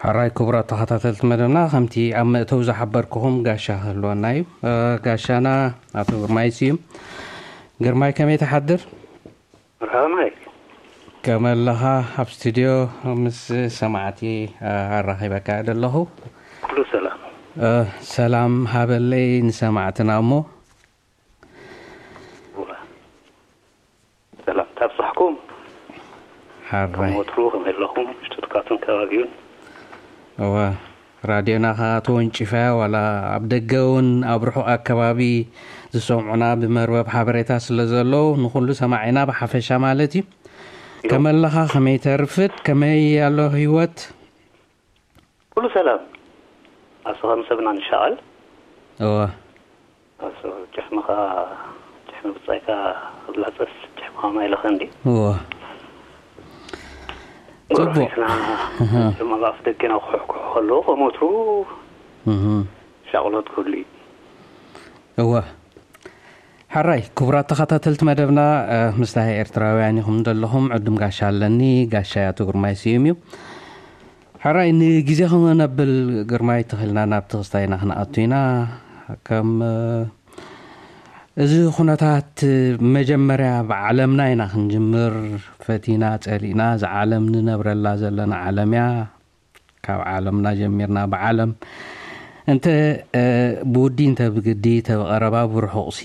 ሕራይ ክቡራት ተኸታተልቲ መደብና፣ ከምቲ ኣብ መእተው ዝሓበርኩኹም ጋሻ ክህልወና እዩ። እ፣ ጋሻና ኣቶ ግርማይ ስዩም። ግርማይ፣ ከመይ ትሓድር? መርሓባ ማይክ። ከመይ ኣለኻ? ኣብ ስቱድዮ ምስ ሰማዕቲ፣ እ፣ ኣራኺበካ እየ ዘለኹ። ኩሉ ሰላም። እ፣ ሰላም ሃበለይ ንሰማዕትና እሞ። እዋ። ሰላም ታብጻሕኩም። ከም ሓራይ። ወትሩ ከመይ ኣለኹም? ሽቱትጋርትን ከባቢኡን? እወ፣ ራድዮና ኸኣ ተወንጪፋ፣ ዋላ ኣብ ደገ እውን ኣብ ርሑቕ ኣከባቢ ዝሰምዑና ብመርበብ ሓበሬታ ስለ ዘለዉ፣ ንኹሉ ሰማዒና ብሓፈሻ ማለት እዩ። እዮ። ከመይ ኣለኻ? ከመይ ተርፍድ? ከመይ ኣሎ ህይወት? ኩሉ ሰላም። ኣስኻ ምሰብና ንሻቐል። እወ። ኣስኻ ጭሕምኻ፣ ጭሕሚ ብጻይካ ክላጸስ፣ ጭሕምኻ ማይ ለኸ እንዲ። እወ። ጽቡቕ። ጎረቤትና እህ። ድማ ኣብ ኣፍ ደገና ክሕኩሑ ከለዉ፣ ከም ወትሩ እህ። ሻቕሎት ክህሉ እዩ። እወ። ሕራይ፣ ክቡራት ተኸታተልቲ መደብና፣ እ፣ ምስታ ኤርትራውያን ኢኹም ዘለኹም፣ ዕዱም ጋሻ ኣለኒ፣ ጋሻ ኣቶ ግርማይ ስዩም እዩ። ሕራይ፣ ንግዜ ከነብል ግርማይ ተኺልና ናብቲ ክስታይና ክንኣቱ ኢና። ከም፣ እ፣ እዚ ኩነታት መጀመርያ ብዓለምና ኢና ክንጅምር፣ ፈቲና ጸሊእና፣ እዛ ዓለም ንነብረላ ዘለና ዓለም እያ። ካብ ዓለምና ጀሚርና ብዓለም እንተ፣ እ፣ ብውዲ እንተ ብግዲ፣ እንተ ብቐረባ ብርሑቕሲ፣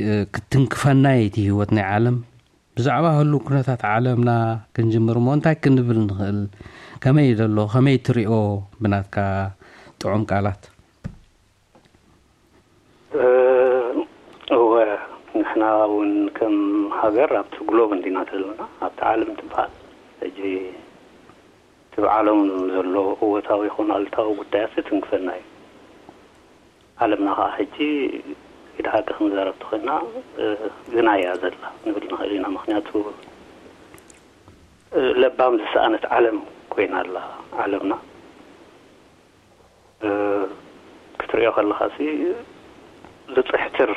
እ፣ ክትንክፈና እዩ እቲ ህይወት ናይ ዓለም። ብዛዕባ ህሉው ኩነታት ዓለምና ክንጅምር እሞ እንታይ ክንብል ንኽእል? ከመይ እዩ ዘሎ? ከመይ ትሪኦ ብናትካ ጥዑም ቃላት? እ፣ እወ፣ ንሕና እውን ከም ሃገር ኣብቲ ግሎብ እንዲና ዘለና፣ ኣብቲ ዓለም ትበሃል። ሕጂ እቲ ብዓለም ዘሎ እወታዊ ይኹን ኣሉታዊ ጉዳያት ትንክፈና እዩ። ዓለምና ኸዓ ሕጂ ኢድ ሓቂ ክንዛረብ ተኾይና፣ እ፣ ግና እያ ዘላ ንብል ንኽእል ኢና። ምኽንያቱ፣ እ፣ ለባም ዝሰኣነት ዓለም ኮይና ኣላ ዓለምና። እ፣ ክትርእዮ ከለኻሲ ዝጽሕትር፣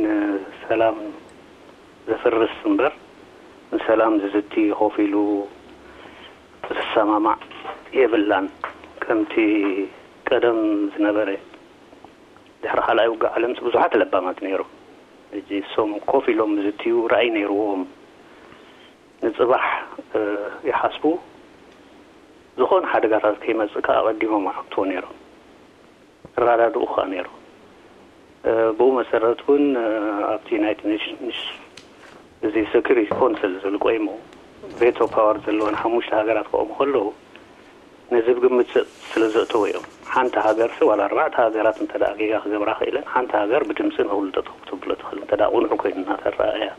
ንሰላም ዘፍርስ እምበር፣ ንሰላም ዝዝቲ ኮፍ ኢሉ ዝሰማማዕ የብላን። ከምቲ ቀደም ዝነበረ፣ ድሕሪ ካልኣይ ውግእ ዓለምሲ ብዙሓት ለባማት ነይሮም። ሕጂ እሶም ኮፍ ኢሎም ዝዝትዩ ራእይ ነይርዎም። ንጽባሕ፣ እ፣ ይሓስቡ። ዝኾነ ሓደጋታት ከይመጽእ ከኣ ኣቐዲሞም ይሓትዎ ነይሮም። ይረዳድኡ ከኣ ነይሮም። እ፣ ብኡ መሰረት እውን፣ እ፣ ኣብቲ ዩናይትድ ኔሽንስ እዚ ሴኩሪቲ ኮንስል ዝብል ቆይሙ ቬቶ ፓወር ዘለወን ሓሙሽተ ሃገራት ክቆሙ ከለዉ፣ ነዚ ብግምት ስለ ዘእተዉ እዮም። ሓንቲ ሃገርሲ ዋላ ኣርባዕተ ሃገራት እንተ ደኣ ጌጋ ክገብራ ክኢለን፣ ሓንቲ ሃገር ብድምጺ ንኹሉ ጠጠው ክትብሎ ትኽእል፣ እንተ ደኣ ቅኑዕ ኮይኑ እናተረኣያ።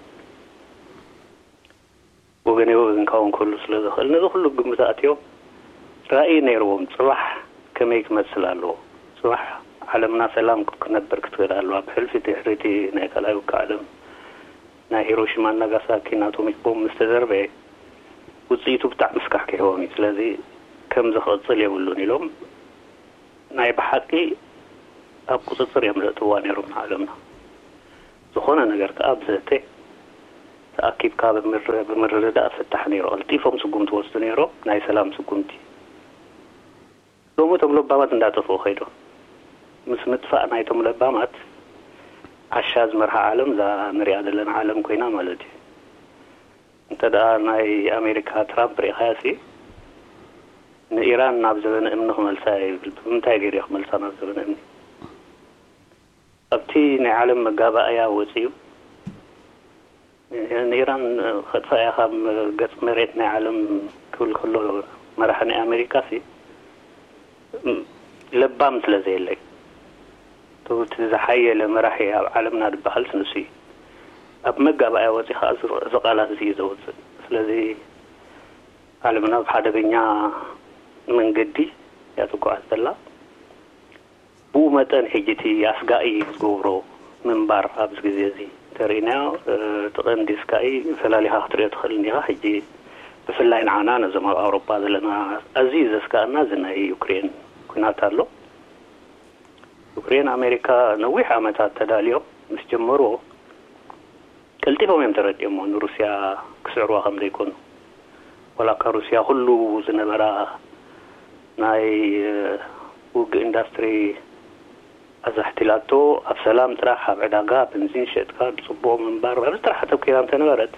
ወገን ወገን ክኸውን ክህሉ ስለ ዝኽእል፣ ነዚ ኩሉ ግምት ኣእትዮም ራእይ ነይርዎም፣ ጽባሕ ከመይ ክመስል ኣለዎ፣ ጽባሕ ዓለምና ሰላም ክነብር ክትኽእል ኣለዋ። ብሕልፊ ድሕሪ እቲ ናይ ካልኣይ ውግእ ዓለም ናይ ሂሮሺማን ናጋሳኪን ኣቶሚክ ቦምብ ምስ ተዘርበየ፣ ውጽኢቱ ብጣዕሚ ስካሕኪሕዎም እዩ። ስለዚ ከምዚ ክቕጽል የብሉን ኢሎም ናይ ብሓቂ ኣብ ቁጽጽር እዮም ዘእትውዋ ነይሮም ንዓለምና። ዝኾነ ነገር ከኣ ብዘተ ተኣኪብካ ብምር-፣ ብምርድዳእ ፍታሕ ነይሩ። ቀልጢፎም ስጉምቲ ወስዱ ነይሮም፣ ናይ ሰላም ስጉምቲ። ሎሚ እቶም ለባማት እንዳጠፍኡ ከይዶም። ምስ ምጥፋእ ናይቶም ለባማት ዓሻ ዝመርሓ ዓለም እዛ ንሪኣ ዘለና ዓለም ኮይና ማለት እዩ። እንተ ደኣ ናይ ኣሜሪካ ትራምፕ ርኢኻያሲ፣ ንኢራን ናብ ዘበነ እምኒ ክመልሳ እየ ይብል። ብምንታይ ገይሩ እዩ ክመልሳ ናብ ዘበነ እምኒ? ኣብቲ ናይ ዓለም መጋባእያ ወጺኡ፣ ንኢራን ከጥፍኣ እየ ካብ ገጽ መሬት ናይ ዓለም ክብል ከሎ፣ መራሒ ናይ ኣሜሪካሲ፣ ለባም ስለ ዘየለ እዩ። እቲ ዝሓየለ መራሒ ኣብ ዓለምና ዝበሃልስ ንሱ እዩ። ኣብ መጋባእያ ወጺኡ ኸኣ እዚ፣ እዚ ቃላት እዚ እዩ ዘውጽእ። ስለዚ ዓለምና ኣብ ሓደገኛ መንገዲ እያ ትጓዓዝ ዘላ። ብኡ መጠን ሕጂ እቲ ኣስጋኢ ዝገብሮ ምንባር ኣብዚ ግዜ እዚ እንተርኢናዮ፣ እ፣ እቲ ቀንዲ ስጋኢ ፈላሊኻ ክትሪኦ ትኽእል እንዲኻ። ሕጂ ብፍላይ ንዓና ነዞም ኣብ ኣውሮጳ ዘለና ኣዝዩ ዘስጋእና እዚ ናይ ዩክሬን ኲናት ኣሎ። ዩክሬን ኣሜሪካ ነዊሕ ዓመታት ተዳልዮም ምስ ጀመርዎ ቀልጢፎም እዮም ተረዲኦሞ ንሩስያ ክስዕርዋ ከም ዘይኮኑ። ዋላ እኳ ሩስያ ኩሉ ዝነበራ ናይ ውግእ ኢንዳስትሪ ኣዛሕቲላቶ፣ ኣብ ሰላም ጥራሕ ኣብ ዕዳጋ በንዚን ሸጥካ ጽቡቕ ምንባር ኣብዚ ጥራሕ ኣተኪራ እንተነበረት፣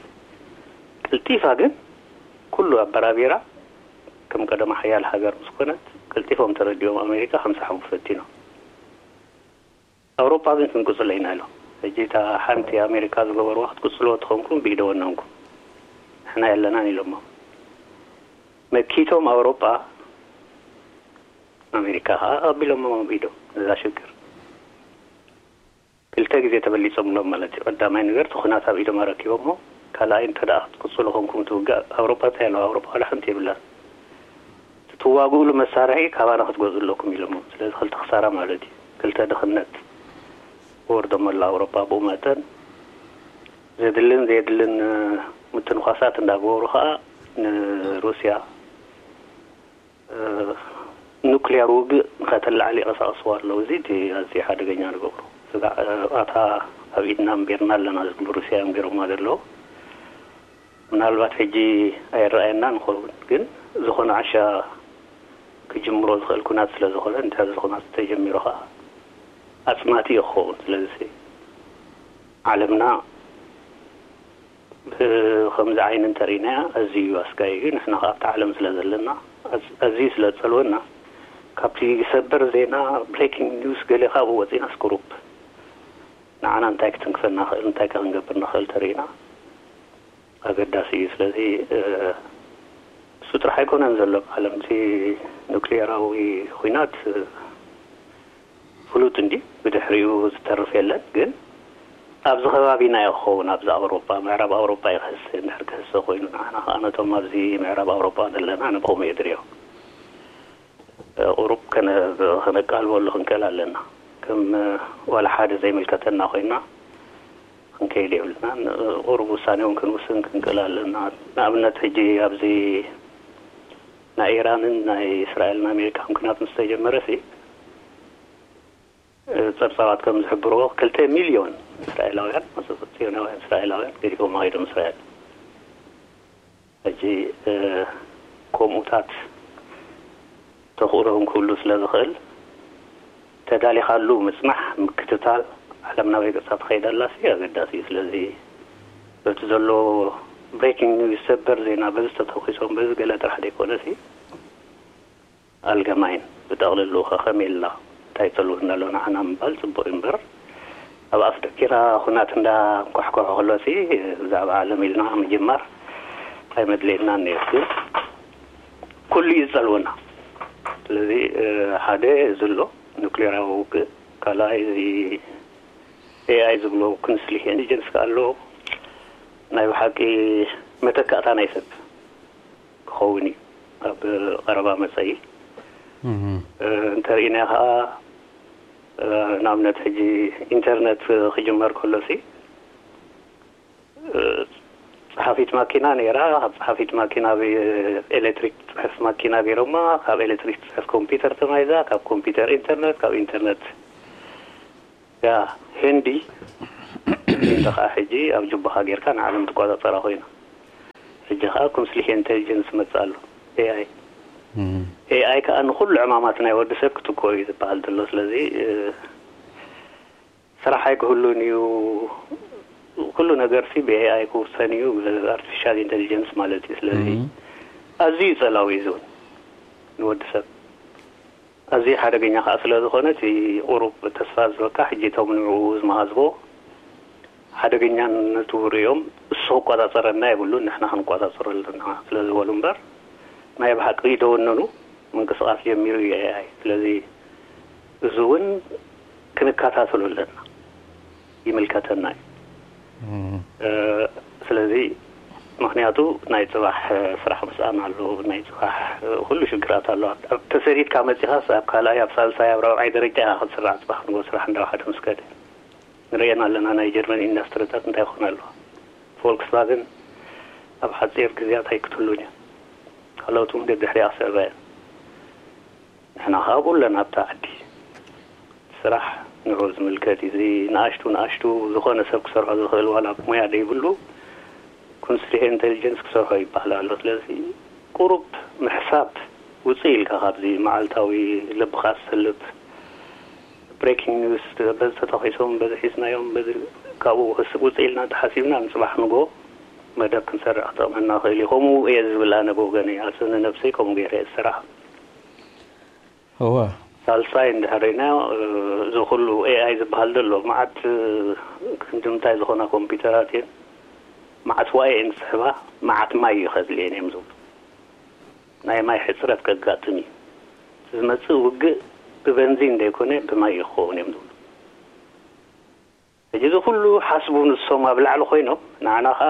ቀልጢፋ ግን ኩሉ ኣበራቢራ፣ ከም ቀደማ ሓያል ሃገር ምስ ኮነት ቀልጢፎም ተረዲኦም ኣሜሪካ ከምሳሕቡ ፈቲኖም። ኣውሮጳ ግን ክንቅጽሎ ኢና ኢሎም። ሕጂ እታ ሓንቲ ኣሜሪካ ዝገበርዋ ክትቅጽልዎ ተኾንኩም ብኢደ ወነንኩም፣ ንሕና የለናን ኢሎሞ። መኪቶም ኣውሮጳ፣ ኣሜሪካ ከዓ ኣቢሎሞ ብኢዶም ነዛ ሽግር። ክልተ ግዜ ተበሊጾምሎም ማለት እዩ። ቀዳማይ ነገር እቲ ኩናት ኣብ ኢዶም ኣረኪቦሞ፣ ካልኣይ እንተ ደኣ ክትቅጽሉ ኮንኩም ትውጋእ ኣውሮጳ እንታይ ኣለዋ? ኣውሮጳ ዋላ ሓንቲ የብላን። ትዋግኡሉ መሳርሒ ካባና ክትገዝኡ ኣለኩም ኢሎሞ። ስለዚ ክልተ ክሳራ ማለት እዩ። ክልተ ድኽነት ወርዶም ኣሎ ኣውሮጳ። ብኡ መጠን ዘድልን ዘየድልን ምትንኳሳት እንዳገበሩ ከዓ ንሩስያ ኑክሊያር ውግእ ንኸተላዕል ይቐሳቐስዋ ኣለዉ። እዚ እቲ ኣዝዩ ሓደገኛ ንገብሮ ስጋዕ ኣታ ኣብ ኢድና እምቤርና ኣለና ዝብሉ ሩስያ እዮም ገይሮማ ዘለዉ። ምናልባት ሕጂ ኣይረኣየና ንኸውን፣ ግን ዝኾነ ዓሻ ክጅምሮ ዝኽእል ኩናት ስለ ዝኾነ፣ እንተ ዝኾነ ተጀሚሩ ኸዓ ኣጽናቲ እዩ ክኸውን። ስለዚ ዓለምና ብኸምዚ ዓይኒ እንተርኢናያ ኣዝዩ ኣስጋኢ እዩ። ንሕና ኸዓ ኣብቲ ዓለም ስለ ዘለና፣ ኣዝ-፣ ኣዝዩ ስለ ዝጸልወና፣ ካብቲ ሰበር ዜና፣ ብሬኪንግ ኒውስ፣ ገለ ካብኡ ወጺና ስኩሩፕ ንዓና እንታይ ክትንክፈና ኽእል፣ እንታይ ከ ክንገብር ንኽእል ተርኢና፣ ኣገዳሲ እዩ። ስለዚ፣ እ፣ እሱ ጥራሕ ኣይኮነን ዘሎ ኣብ ዓለም። እቲ ኑክሊየራዊ ኹናት፣ እ፣ ፍሉጥ እንዲ ብድሕሪኡ ዝተርፍ የለን። ግን ኣብዚ ከባቢና እዩ ክኸውን፣ ኣብዚ ኣውሮጳ፣ ምዕራብ ኣውሮጳ እዩ ክህሰ። እንድሕር ክህሰ ኮይኑ ንዓና ኸዓ ነቶም ኣብዚ ምዕራብ ኣውሮጳ ዘለና ንብኸምኡ የድርዮ። እ፣ ቁሩብ ከነ-፣ ከነቃልበሉ ክንክእል ኣለና። ከም፣ እ፣ ዋላ ሓደ ዘይምልከተና ኮይና ክንከይድ የብልናን። እ፣ ቁሩብ ውሳኔ እውን ክንውስን ክንክእል ኣለና። ንኣብነት ሕጂ ኣብዚ ናይ ኢራንን ናይ እስራኤልን ኣሜሪካን ኩናት ምስ ተጀመረ ሲ፣ እ፣ ጸብጻባት ከም ዝሕብርዎ ክልተ ሚልዮን እስራኤላውያን፣ ጽዮናውያን እስራኤላውያን ገዲፎም ከይዶም እስራኤል። ሕጂ፣ እ፣ ከምኡታት ተኽእሎ እውን ክህሉ ስለ ዝኽእል፣ ተዳሊኻሉ ምጽናሕ፣ ምክትታል፣ ዓለም ናበይ ገጻ ትኸይድ ኣላ ሲ ኣገዳሲ እዩ። ስለዚ በቲ ዘሎ ብሬኪንግ ኒውስ፣ ሰበር ዜና፣ በዚ ተተኺሶም፣ በዚ ገለ ጥራሕ ዘይኮነ ሲ፣ ኣልገማይን ብጠቕልሉ ከ ከመይ ኢልና እንታይ ጸልወና ኣሎ ንዓና ምባል ጽቡቕ እዩ እምበር፣ ኣብ ኣፍ ደኪራ ኩናት እንዳ ኳሕኳሕ ከሎ ሲ ብዛዕባ ዓለም ኢልና ምጅማር ኣይመድልየናን ነይሩ። ግን ኩሉ እዩ ዝጸልወና። ስለዚ፣ እ፣ ሓደ እዚ ኣሎ፣ ኑክሌራዊ ውግእ፣ ካልኣይ እዚ ኤ ኣይ ዝብሎ ኩንስሊህ ኢንተሊጀንስ ከኣ ኣሎ። ናይ ብሓቂ መተካእታ ናይ ሰብ ክኸውን እዩ ኣብ ቀረባ መጸኢ። እህ። እ፣ እንተርኢናዮ ከኣ፣ እ፣ ንኣብነት ሕጂ ኢንተርነት ክጅመር ከሎ ሲ፣ እ፣ ጸሓፊት ማኪና ነይራ። ካብ ጸሓፊት ማኪና ብ-፣ ኤሌክትሪክ ትጽሕፍ ማኪና ገይሮማ፣ ካብ ኤሌክትሪክ ትጽሕፍ ኮምፒውተር ተማይዛ፣ ካብ ኮምፒውተር ኢንተርነት፣ ካብ ኢንተርነት ያ ህንዲ፣ ህንዲ ከኣ ሕጂ ኣብ ጁባኻ ጌርካ ንዓለም ትቆጻጸራ ኮይና። ሕጂ ከኣ ኩንስሊህ ኢንተሊጀንስ መጽእ ኣሎ፣ ኤ ኣይ። እም። ኤ ኣይ ከኣ ንኹሉ ዕማማት ናይ ወዲ ሰብ ክትኮ እዩ ዝበሃል ዘሎ። ስለዚ፣ እ፣ ስራሕ ኣይክህሉን እዩ። ኩሉ ነገር ሲ ብ ኤ ኣይ ክውሰን እዩ፣ ብ ኣርቲፊሻል ኢንተሊጀንስ ማለት እዩ። ስለዚ እም። ኣዝዩ ጸላዊ እዩ ዝውን ንወዲ ሰብ። ኣዝዩ ሓደገኛ ከኣ ስለ ዝኾነ፣ እቲ ቁሩብ ተስፋ ዝበካ፣ ሕጂ እቶም ንዕኡ ዝመሃዝዎ ሓደገኛነቱ ርእዮም፣ እሱ ክቆጻጸረና የብሉን፣ ንሕና ክንቆጻጸሮ ኣለና ስለ ዝበሉ እምበር፣ ናይ ብሓቂ ደወነኑ ምንቅስቓስ ጀሚሩ እዩ ኤ ኣይ። ስለዚ እዚ እውን ክንከታተሎ ኣለና። ይምልከተና እዩ። እም። እ፣ ስለዚ ምኽንያቱ ናይ ጽባሕ፣ እ፣ ስራሕ ምስኣን ኣሎ፣ ናይ ጽባሕ፣ እ፣ ኩሉ ሽግራት ኣሎ። ኣብ፣ ኣብ ተሰዲድካ መጺኻስ ኣብ ካልኣይ፣ ኣብ ሳልሳይ፣ ኣብ ራብዓይ ደረጃ ኢኻ ክትስራዕ፣ ጽባሕ ንግሆ ስራሕ እንዳወሓደ ምስ ከደ። ንርእየን ኣለና ናይ ጀርመን ኢንዳስትሪታት እንታይ ይኾና ኣለዋ። ፎልክስቫገን ኣብ ሓጺር ግዜያት ኣይክትህሉን እያ። ካልኦት እውን ደድሕሪኣ ክስዕባ እየን። ንሕና ከኣ ኣብኡ ኣለና ኣብታ ዓዲ። ስራሕ ንዑ ዝምልከት እዩ። እዚ ንኣሽቱ ንኣሽቱ ዝኾነ ሰብ ክሰርሖ ዝኽእል ዋላ ሞያ ዘይብሉ ኩንስሊህ ኢንተሊጀንስ ክሰርሖ ይበሃል ኣሎ። ስለዚ ቁሩብ ምሕሳብ ውፅእ ኢልካ ካብዚ መዓልታዊ ልብኻ ዝሰልብ ብሬኪንግ ኒውስ፣ በዚ ተተኺሶም፣ በዚ ሒዝናዮም፣ በዚ ካብኡ ውፅእ ኢልና እንተሓሲብና፣ ንፅባሕ ንጎ መደብ ክንሰርዕ ክጠቕመና ክእል እዩ። ከምኡ እየ ዝብል ኣነ ብወገነይ፣ ኣሰነ ነብሰይ ከምኡ ገይረ እየ ዝሰርዓ። እወ። ሳልሳይ እንድሕር ርኢናዮ፣ እዚ ኩሉ ኤኣይ ዝበሃል ዘሎ፣ መዓት ክንዲ ምንታይ ዝኾና ኮምፒውተራት እየን፣ መዓት ዋይ እየን ዝስሕባ፣ መዓት ማይ እዩ ከድልየን እዮም ዝብሉ። ናይ ማይ ሕፅረት ከጋጥም እዩ። እቲ ዝመፅእ ውግእ ብበንዚን ዘይኮነ ብማይ እዩ ክኸውን እዮም ዝብሉ። ሕጂ እዚ ኩሉ ሓስቡ ንሶም ኣብ ላዕሊ ኮይኖም፣ ንዓና ከዓ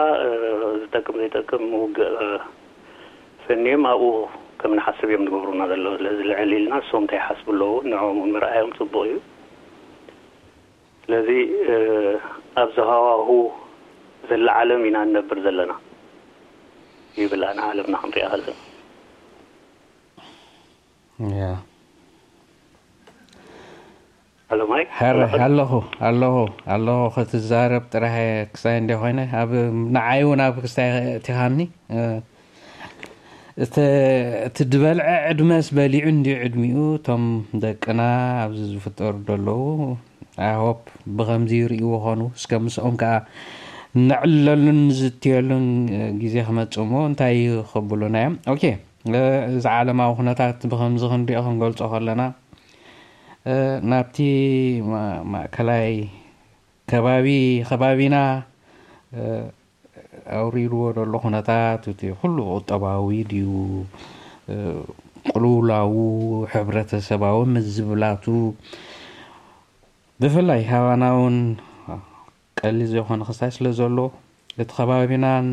ዝጠቅም ዘይጠቅም ውግእ ፈንዮም ኣብኡ ከም ንሓስብ እዮም ዝገብሩና ዘለዉ። ስለዚ ልዕል ኢልና ንሶም እንታይ ይሓስቡ ኣለዉ ንዕኦም እውን ምርኣዮም ፅቡቕ እዩ። ስለዚ ኣብዚ ሃዋሁ ዘላ ዓለም ኢና ንነብር ዘለና ይብል፣ ኣነ ዓለምና ክንሪኣ ከለና። ያ ኣለማይ ሕረ ኣለኹ ኣለኹ ኣለኹ ክትዛረብ ጥራሕ ክሳይ እንደ ኮይነ ኣብ ንዓይ እውን ኣብ ክስታይ እቲኻኒ እቲ ዝበልዐ ዕድመስ በሊዑ እንዲ ዕድሚኡ እቶም ደቅና ኣብዚ ዝፍጠሩ ዘለዉ ኣይሆፕ ብከምዚ ይርእይዎ ኾኑ እስከ ምስኦም ከዓ ነዕለሉን ንዝትየሉን ግዜ ክመፅእ እሞ እንታይ ክብሉና እዮም ኦኬ እዚ ዓለማዊ ኩነታት ብከምዚ ክንሪኦ ክንገልፆ ከለና ናብቲ ማእከላይ ከባቢ ከባቢና ኣውሪድዎ ዘሎ ኩነታት እቲ ኩሉ ቁጠባዊ ድዩ ቅልውላዉ ሕብረተሰባዊ ምዝብላቱ ብፍላይ ሃባና እውን ቀሊል ዘይኮነ ክስታይ ስለ ዘሎ እቲ ከባቢናን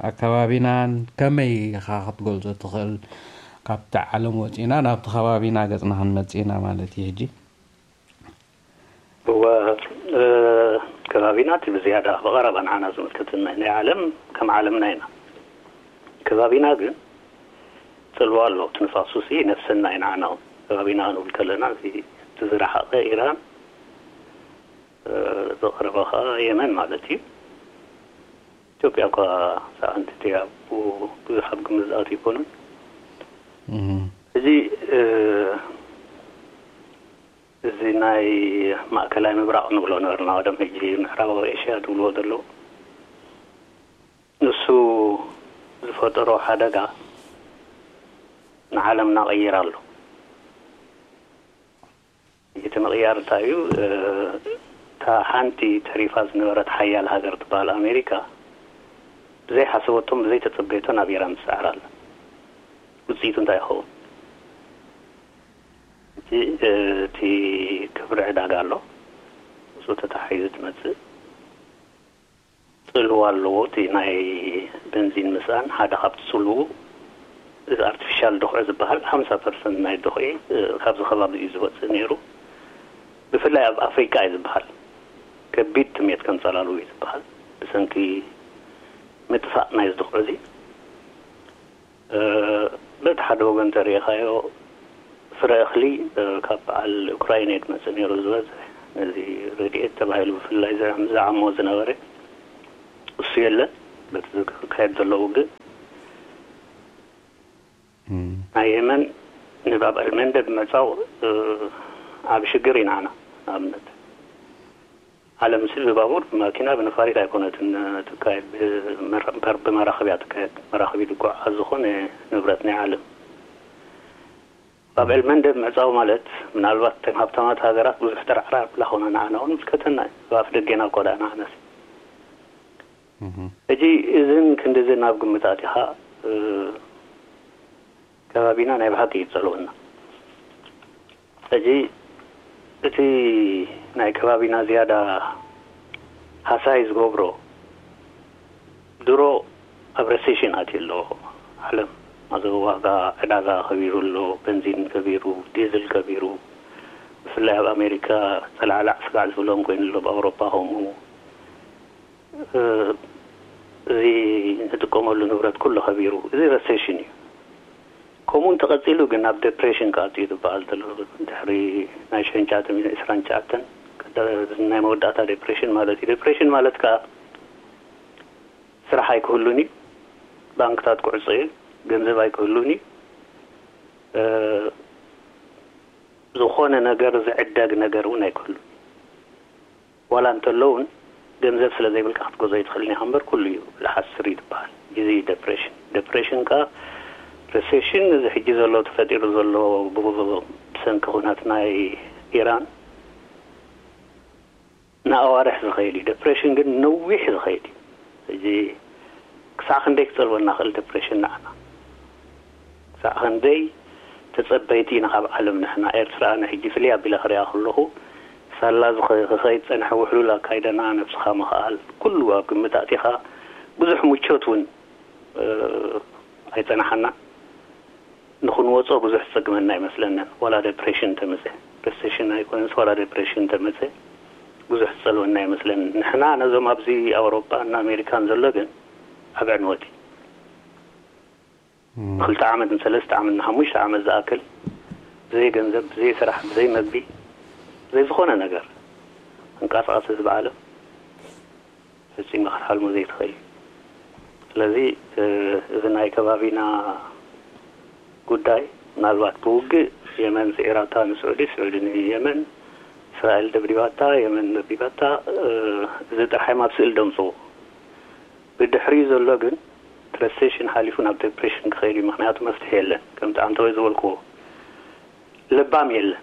ኣከባቢናን ከመይ ኢኻ ክትገልጾ ትኽእል? ካብቲ ዓለም ወጺእና ናብቲ ከባቢና ገጽና ክንመጽእ ኢና ማለት እዩ ሕጂ። እወ፣ እ፣ ከባቢና እቲ ብዝያዳ ብቐረባ ንዓና ዝምልከተና እዩ። ናይ ዓለም ከም ዓለምና ኢና። ከባቢና ግን ጽልዋ ኣለዎ። እቲ ንፋሱሲ ነፍሰና እዩ ንዓና እውን። ከባቢና ክንብል ከለና እዚ እቲ ዝረሓቐ ኢራን፣ እ፣ ዝቐረበ ኸዓ የመን ማለት እዩ። ኢትዮጵያ እኳ ሰኣንቲ እያ፣ ብዙሕ ኣብ ግምት ዝኣትው ኣይኮኑን። እም። እዚ እ፣ እዚ ናይ ማእከላይ ምብራቕ ንብሎ ነበርና፣ ቀደም ሕጂ ምዕራባዊ ኤሽያ ዝብልዎ ዘለዉ። ንሱ ዝፈጠሮ ሓደጋ ንዓለምና ቀይራ ኣሎ። እቲ ምቕያር እንታይ እዩ? እ፣ እታ ሓንቲ ተሪፋ ዝነበረት ሓያል ሃገር ትበሃል ኣሜሪካ፣ ብዘይሓሰበቶን ብዘይተጸበየቶን ናብ ኢራን ትስዕር ኣላ። ውጽኢቱ እንታይ ይኸውን? እቲ፣ እ፣ እቲ ክብሪ ዕዳጋ ኣሎ። ምስኡ ተተሓሒዙ ትመጽእ ጽልዋ ኣለዎ። እቲ ናይ በንዚን ምስኣን ሓደ ካብቲ ጽልውኡ፣ እዚ ኣርቲፊሻል ድኹዒ ዝበሃል ሓምሳ ፐርሰንት ናይ ድኹዒ፣ እ፣ ካብዚ ከባቢ እዩ ዝወጽእ ነይሩ። ብፍላይ ኣብ ኣፍሪቃ እዩ ዝበሃል። ከቢድ ጥሜት ከንጸላልው እዩ ዝበሃል። ብሰንኪ ምጥፋእ ናይዚ ድኹዒ እዚ። እ፣ በቲ ሓደ ወገን ተሪኢኻዮ፣ ፍረ እኽሊ፣ እ፣ ካብ በዓል ዩክራይን እዩ ዝመጽእ ነይሩ ዝበዝሕ። ነዚ ረድኤት ተባሂሉ ብፍላይ ዝዕም-፣ ዝዓሞ ዝነበረ እሱ የለን። በቲ ዝካየድ ዘሎ ውግእ፣ እም። ናይ የመን ንባብ ኣልመንደብ ምዕጻው፣ እ፣ ዓቢ ሽግር እዩ ንዓና። ንኣብነት፣ ዓለም ሲ ብባቡር፣ ብማኪና፣ ብነፋሪት ኣይኮነትን ትካየድ፣ ብመራ-፣ በር-፣ ብመራኽብ እያ ትካየድ። መራኽብ እዩ ዝጓዓዝ ዝኾነ ንብረት ናይ ዓለም። ባብ ኤልመንደብ ምዕጻው ማለት፣ ምናልባት እተን ሃብታማት ሃገራት ብዙሕ ተራዕራዕ ኣብላ ኾነ ንዓና እውን ምልከተና እዩ። ኣብ ኣፍ ደጌና እኮ ደኣ ንዓና ሲ። እህ። ሕጂ እዝን ክንድዝን ኣብ ግምት ኣቲኻ፣ እ፣ ከባቢና ናይ ብሓቂ እዩ ዝጸልወና። ሕጂ እቲ ናይ ከባቢና ዝያዳ ሃሳይ ዝገብሮ፣ ድሮ ኣብ ረሴሽን ኣትዩ ኣሎ ዓለም። ኣብ ዋጋ ዕዳጋ ከቢሩ ኣሎ፣ በንዚን ከቢሩ፣ ዲዝል ከቢሩ፣ ብፍላይ ኣብ ኣሜሪካ ጸላዕላዕ ስጋዕ ዝብሎም ኮይኑ ኣሎ፣ ኣብ ኣውሮፓ ከምኡ። እ፣ እዚ ንጥቀመሉ ንብረት ኩሉ ከቢሩ፣ እዚ ረሴሽን እዩ። ከምኡ እንተቐጺሉ ግን ናብ ዴፕሬሽን ክኣቱ እዩ ዝበሃል ዘሎ። ድሕሪ ናይ ሽሕን ትሽዓተ ሚእትን ዕስራን ትሽዓተን ናይ መወዳእታ ዴፕሬሽን ማለት እዩ። ዴፕሬሽን ማለት ከኣ ስራሕ ኣይክህሉን እዩ፣ ባንክታት ክዕጾ እዩ፣ ገንዘብ ኣይክህሉን እዩ። ዝኾነ ነገር ዝዕደግ ነገር እውን ኣይክህሉ። ዋላ እንተሎ እውን ገንዘብ ስለ ዘይብልካ ክትገዝኦ ኣይትኽእልን ኢኻ እምበር፣ ኩሉ እዩ ልሓስር እዩ ዝበሃል። እዚ እዩ ደፕሬሽን። ደፕሬሽን ከኣ፣ ሪሴሽን፣ እዚ ሕጂ ዘሎ ተፈጢሩ ዘሎ ብ-፣ ብሰንኪ ኩናት ናይ ኢራን ንኣዋርሕ ዝኸይድ እዩ። ደፕሬሽን ግን ነዊሕ ዝኸይድ እዩ። እዚ ክሳዕ ክንደይ ክጸልወና ክእል ደፕሬሽን ንዓና? ክሳዕ ክንደይ ተጸበይቲ ኢና ካብ ዓለም ንሕና? ኤርትራ ኣነ ሕጂ ፍልይ ኣቢለ ክሪኣ ከለኹ፣ ሳላ ዝኸ-፣ ክኸይድ ጸንሐ ውሕሉል ኣካይደና፣ ነብስኻ ምኽኣል፣ ኩሉ ኣብ ግምት ኣእቲኻ፣ ብዙሕ ምቾት እውን፣ እ፣ ኣይጸናሓና። ንኽንወጾ ብዙሕ ዝጸግመና ኣይመስለንን። ዋላ ደፕሬሽን ተመጸ፣ ሪሴሽን ኣይኮነንስ፣ ዋላ ደፕሬሽን ተመጸ፣ ብዙሕ ዝጸልወና ኣይመስለንን። ንሕና ነዞም ኣብዚ ኣውሮጳን ኣሜሪካን ዘሎ ግን ዓቢ ዕንወት እዩ። እም። ክልተ ዓመት፣ ንሰለስተ ዓመት፣ ንሓሙሽተ ዓመት ዝኣክል ብዘይ ገንዘብ፣ ብዘይ ስራሕ፣ ብዘይ መግቢ፣ ብዘይ ዝኾነ ነገር፣ ተንቀሳቐሲ ህዝቢ ዓለም ፈጺምካ ክትሓልሞ ዘይትኽእል እዩ። ስለዚ፣ እ፣ እዚ ናይ ከባቢና ጉዳይ፣ ምናልባት ብውግእ የመን ስዒራታ ንስዑዲ፣ ስዑዲ ንየመን፣ እስራኤል ደብዲባታ፣ የመን ደብዲባታ፣ እ፣ እዚ ጥራሕ እዮም ኣብ ስእሊ ደምጽዎ። ብድሕሪኡ ዘሎ ግን ትራንዚሽን ሓሊፉ ናብ ዲፕሬሽን ክኸይድ እዩ። ምኽንያቱ መፍትሒ የለን። ከምቲ ዓንተወይ ዝበልክዎ፣ ለባም የለን።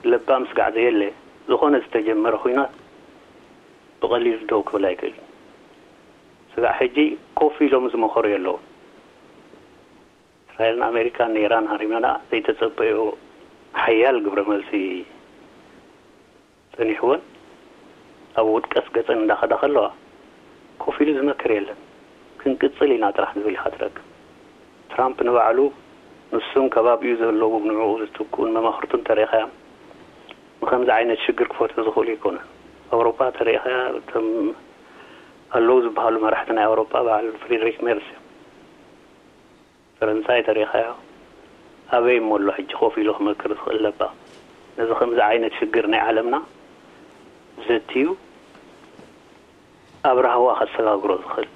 ለባም ስጋዕ ዘየለ፣ ዝኾነ ዝተጀመረ ኹናት ብቐሊሉ ደው ክብል ኣይክእልን። ስጋዕ ሕጂ ኮፍ ኢሎም ዝመኸሩ የለውን። እስራኤልን ኣሜሪካን ንኢራን ሃሪመና ዘይተጸበዮ ሓያል ግብረ መልሲ ጸኒሕወን፣ ኣብ ውድቀት ገጸን እንዳኸዳ ከለዋ፣ ኮፍ ኢሉ ዝመክር የለን። ክንቅጽል ኢና ጥራሕ ዝብል ኢኻ ትረክብ። ትራምፕ ንባዕሉ፣ ንሱን ከባቢኡ ዘለዉ ንዕኡ ዝትክኡን መማኽርቱን ተሪኻዮም፣ ንኸምዚ ዓይነት ሽግር ክፈትሑ ዝኽእሉ ኣይኮኑን። ኣውሮፓ ተሪኻያ፣ እቶም ኣለዉ ዝበሃሉ መራሕቲ ናይ ኣውሮፓ በዓል ፍሪድሪክ ሜርስ እዮም። ፈረንሳይ ተሪኻዮ፣ ኣበይ እሞ ኣሎ ሕጂ ኮፍ ኢሉ ክመክር ዝኽእል ለባም? ነዚ ከምዚ ዓይነት ሽግር ናይ ዓለምና ዘትዩ ኣብ ራህዋ ከሰጋግሮ ዝኽእል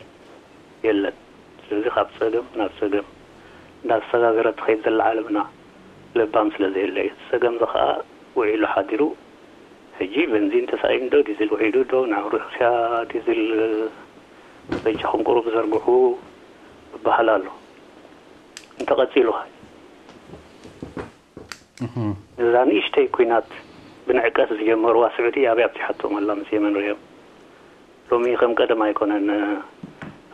የለን። ስለዚ ካብ ጸገም ናብ ጸገም እንዳተሰጋገረት ትኸይድ ዘላ ዓለምና ለባም ስለ ዘየለ እዩ። ጸገም እዚ ኸኣ ውዒሉ ሓዲሩ፣ ሕጂ በንዚን ተሳኢኑ ዶ፣ ዲዝል ውዒዱ ዶ፣ ናብ ሩስያ ዲዝል በጃኹም ቁሩብ ዘርግሑ ይበሃል ኣሎ። እንተቐጺሉ ኸ? እህ። ነዛ ንእሽተይ ኲናት ብንዕቀት ዝጀመርዋ ስዑዲ ኣበይ ኣብጺሓቶም ኣላ ምስ የመን ርእዮም? ሎሚ ከም ቀደም ኣይኮነን።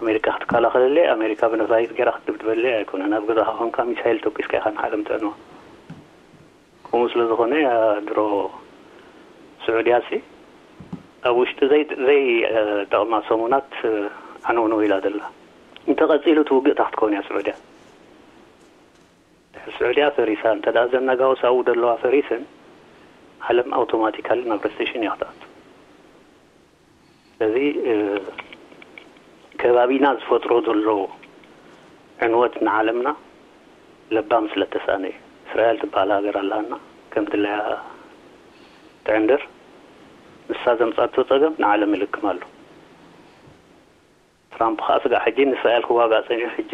ኣሜሪካ ክትከላኸለለይ፣ ኣሜሪካ ብነፋሪት ገይራ ክትድብድበለይ ኣይኮነን። ኣብ ገዛኻ ኮንካ ሚሳይል ተኩስካ ኢኻ ንዓለም ትዕንዋ። ከምኡ ስለ ዝኾነ፣ ያ ድሮ ስዑድያ ሲ ኣብ ውሽጢ ዘይ-፣ ዘይጠቕማ ሰሙናት ዓነውነው ኢላ ዘላ። እንተቐጺሉ እቲ ውግእ እንታይ ክትከውን እያ ስዑድያ? ድሕሪ ስዑድያ ፈሪሳ፣ እንተ ደኣ እዘን ነጋውስ ኣብኡ ዘለዋ ፈሪሰን፣ ዓለም ኣውቶማቲካሊ ናብ ሪሴሽን እያ ክትኣቱ። ስለዚ፣ እ፣ ከባቢና ዝፈጥሮ ዘሎ ዕንወት ንዓለምና ለባም ስለ እተሳእነ እዩ። እስራኤል ትበሃል ሃገር ኣለሃና፣ ከም ድላያ ትዕንድር። ንሳ ዘምጻቶ ጸገም ንዓለም ይልክም ኣሎ። ትራምፕ ኸኣ ስጋዕ ሕጂ ንእስራኤል ክዋጋእ ጸኒሑ፣ ሕጂ